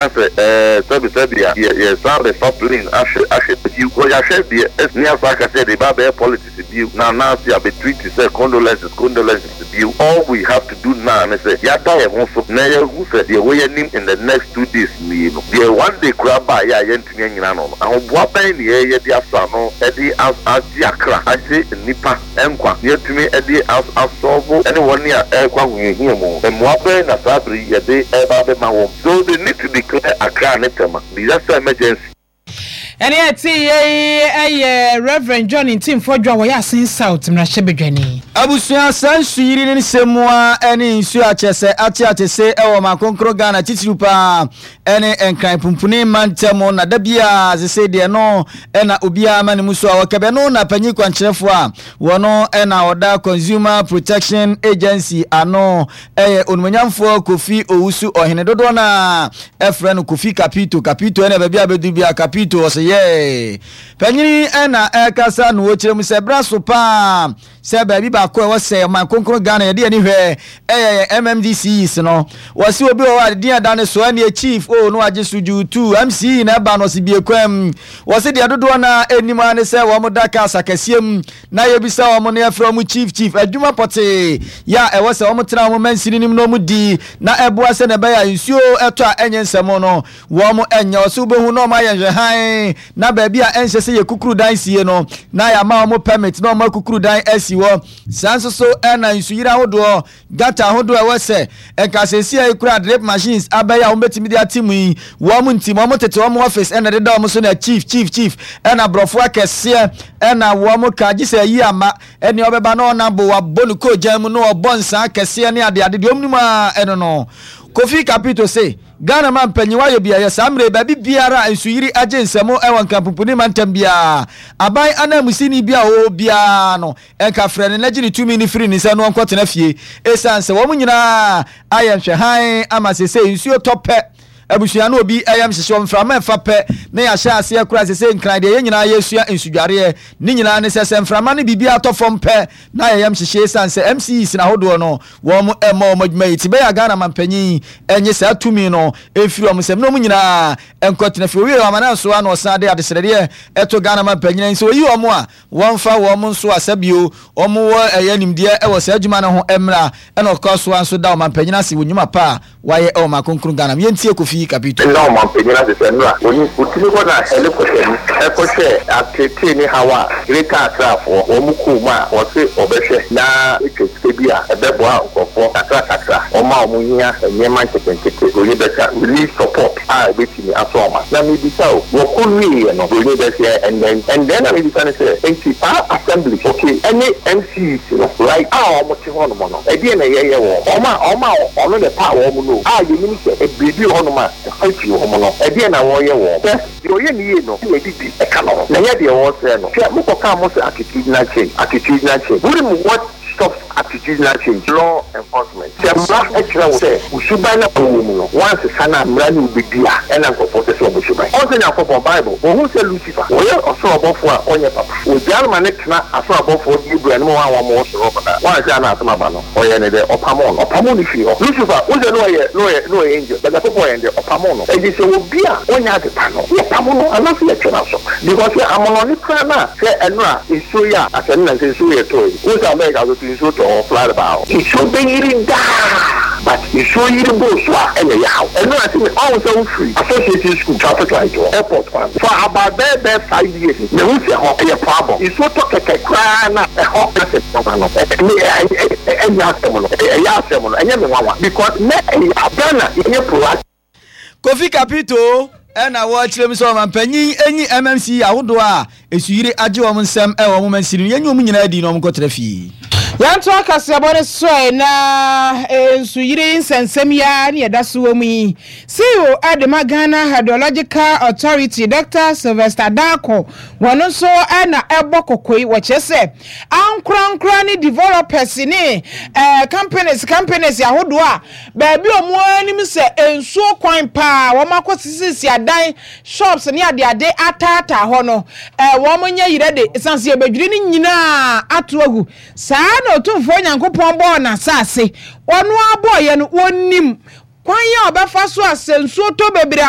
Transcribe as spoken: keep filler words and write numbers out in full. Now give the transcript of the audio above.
Sɛ ɛɛ sɛbi sɛbi a, yɛ yɛsan bɛfa plane ahwɛ ahwɛ bio kɔ yɛahwɛ deɛ ɛsini asa aka sɛ de ba bɛyɛ politics bio na anaase abɛtweet sɛ condolences, condolences bio. All we have to do now ne sɛ yɛada yɛn ho so na yɛhu sɛ deɛ wɔyɛ anim in the next two days nie no deɛ, one day koraa baa yɛ a yɛntumi anyina no no ahoboa bɛn ne yɛyɛ de aso ano ɛde agye akra, agye nnipa nkwa, na yɛtumi ɛde asɔɔbo ɛne wɔn a ɛrekɔ ahohiahia mu? Mmoa bɛn na saa bere yɛde ɛreba abɛma wɔn? So they need to declare Accra ne Tema disaster emergency. Ɛne ɛte yei ɛyɛ Reverend John Ntim Fordjour a wɔyɛ Assin South mmarahyɛbadwani. Abusua, saa nsuyiri ne nsɛm a ne nsuo akyɛ sɛ ate ate se ɛwɔ makonkoro Ghana, titiriw paa ɛne Nkran pumpuni mantam, na da biara sese deɛ no ɛna obiara ma ne mu so a wɔkɛbɛ no na panyin kwankyerɛfoɔ a wɔno ɛna ɔda Consumer Protection Agency ano, ɛyɛ onumonyamfoɔ Kofi Owusu Ɔhene, dodoɔ no a ɛfrɛ no Kofi Kapito. Kapito ɛna baabi a bɛduru bi a Kapito ɔsɛ yɛ panyini ɛna ɛkasa no, wɔkyerɛ mu sɛ bra so paa sɛ baabi baako a ɛwɔ sɛ ɔman kronkron Ghana yɛde ani hwɛ ɛyɛ yɛn M M D C Es no. Wɔsi obi wɔ hɔ a din ada ne so ɛne chief o no agye so dwutu M C na ɛba no ɔsi bie kwam. Wɔsi deɛ dodoɔ na anim a ne sɛ wɔn da cars akɛseɛ mu na yɛbisa wɔn no, yɛfrɛ wɔn chief, chief. Adwuma pɔtee yɛ a ɛwɔ sɛ wɔn tena wɔn mansini nim na wɔn di na ɛboa sɛ na ɛbɛyɛ a nsuo ɛtɔ a ɛnyɛ nsɛm no wɔn ɛnyɛ. Ɔsi wobɛhu na wɔn ayɛ nhwɛhan na baabi a ɛnhyɛ sɛ yɛ kukuru dan sie no na yɛama wɔn permit na wɔn akukuru dan asi hɔ. Saa nso so ɛna nsuyiri ahodoɔ, gutter ahodoɔ ɛwɔ sɛ nkasɛsi a ekura drip machines abɛyɛ a wɔn bɛtumi de ate mu yi, wɔn nti wɔn tete wɔn office ɛna ɛdeda wɔn so na chief, chief, chief, ɛna aborɔfo akɛseɛ ɛna wɔn ka gye sɛ ayi ama ɛnea ɔbɛba na ɔnabo wabɔ ne koogyan mu na ɔbɔ nsa akɛseɛ ne adeade deɛ ɔmo nim a ɛno no. Kofi Kapito se Ghana ma mpanyin wayɛ bi ɛyɛ saa mmerɛ baabi biara a nsuyiri agye nsɛm ɛwɔ Nkrampoponi mantam biara, aban ananmusini bi a ɔwɔ biara no ɛnka frɛ no n'agye ne tumi ne firi ne nsa no ɔnkɔtena fie, ɛsiane sɛ wɔn nyinaa ayɛ nhwɛhan ama sese nsuo tɔ pɛ, abusua no obi ɛyam hyehyɛ wɔn, mframa ɛfa pɛ na yɛahyɛ aseɛ kora. Sese Nkran deɛ, yɛn nyinaa yɛsua nsudwareɛ ne nyinaa ne sɛ sɛ mframa no biribi atɔ fam pɛ na yɛyam hyehyɛ, ɛsiane sɛ M C Es ahodoɔ no wɔn ɛmmɔ wɔn adwuma yi ti bɛyɛ a Ghana mampanyin ɛnye saa tumi no ɛmfiri wɔn nsɛm na wɔn nyinaa nkɔtena fie. Owie amana nso a na ɔsan de adesrɛdeɛ ɛto Ghana mampanyin nso oyi wɔn a wɔmfa wɔn nso asɛbio wɔn wɔ ɛyɛ nimdeɛ ɛwɔ saa adwuma no ho mmra. Ɛna ɔkɔ so nso da ɔmampanyin ase wɔ nnwuma pa a wayɛ ɛwɔ makonkron Ghana. Yɛntie Kofi Kapito. Nna ɔmampanyin ase sɛ nnora oni otumi hɔ na helicopter mu ɛkɔhwɛ atetee ne haw a Greater Accrafoɔ wɔn mu kɔɔ mu a wɔse ɔbɛhwɛ na etwa sika bi a ɛbɛboa nkurɔfoɔ kakra kakra, wɔn a wɔn hia nneɛma nketenkete, broni bɛka relief support a ebetumi aso ɔma. Na mebisa o, wɔkɔ wieɛ no, broni bɛsɛ ɛndɛn ɛndɛn na mebisa ne sɛ nti saa assembly, okay, ɛne M C Es no, right, a wɔn te hɔnom no, ɛdeɛ na ɛyɛyɛ wɔ wɔn a wɔn a ɔno na ɛpa wɔn no a yɛnim sɛ biribi wɔ hɔnom a ɛfa firi wɔn no, ɛdeɛ na wɔreyɛ wɔn sɛ deɛ ɔyɛ ne yie no na ɛde bi ɛka no ho na ɛnyɛ deɛ wɔresrɛ no. Hwɛ, mokɔka mo sɛ attitudinal change, attitudinal change. Wonim what stops attitudinal change? Law enforcement. Sɛ mmara kyerɛ wo sɛ wo suban na wɔwɔ mu no wansesa no a, mmara ne wobɛdi a ɛna nkurɔfoɔ sɛ sɛ ɔmo suban ɔn sɛ Nyankopɔn Bible wɔhu sɛ Lucifer wɔyɛ ɔsoro ɔbɔfoɔ a ɔnyɛ papa, wɔgyaa no ma ne tena asoro abɔfoɔ Gabriel no ma wɔn a wɔn wɔ soro hɔ na wɔanhwɛ a na asɛm aba no, ɔyɛ ne dɛ ɔpamo no ɔpamo no firi hɔ. Lucifer wo sɛ ne ɔyɛ ne ɔyɛ ne ɔyɛ angel, but Nyankopɔn yɛ dɛ ɔpamo no. Ɛgye sɛ obi a ɔnyɛ ade pa no yɛpamo no anaasɛ yɛtwe no so, because sɛ amonɔne koraa no a sɛ ɛno a nsuo yi a asɛ ne nansɛ nsuo yɛ tɔ yi, wo sɛ America so to nsuo tɔ hɔ, flood baa hɔ, nsuo bɛyiri daa, but nsuo yiri boo so a ɛna ɛyɛ haw. Ɛno a sɛ ɔhu sɛ wofiri Association School traffic light hɔ, airport kwan for about bɛɛ bɛɛ five years na ehu sɛ hɔ ɛyɛ poabɔ, nsuo tɔ kɛkɛ koraa na ɛhɔ asɛ nwanwa no ɛnyɛ asɛm no, ɛyɛ asɛm no ɛnyɛ me nwanwa because nɛ ɛyɛ Ghana yɛnyɛ proactive. Kofi Kapito ɛna wɔkyerɛ mu sɛ ɔmampanyin enyi M M C ahodoɔ a esuyiri agye wɔn nsɛm ɛwɔ wɔn mansini no, yɛnyi wɔn nyinaa di na wɔn nkɔtena fie. Yɛnto akaseɛbɔ no soɛ na nsuyiri nsɛnsɛm yi a ne yɛda so wɔ mu yi, C E O ɛde ma Ghana Hydrological Authority, Doctor Sylvester Darko, wɔn nso ɛna ɛbɔ kɔkɔ yi. Wɔkyerɛ sɛ ankorankora ne developers ne ɛɛ companies companies ahodoɔ a baabi a wɔn anim sɛ nsuo kwan paa wɔn akɔ sisisi adan, shops ne adeade ataataa hɔ no, ɛɛ wɔn nyɛ yerɛ de sanse yɛbɛdwiri ne nyinaa ato agu. Saa na Otumfoɔ Nyankopɔn bɔɔ n'asase, ɔno abɔɔyɛ no, wɔnim Kwan yɛ ɔbɛfa so a sɛ nsuo tɔ bebree a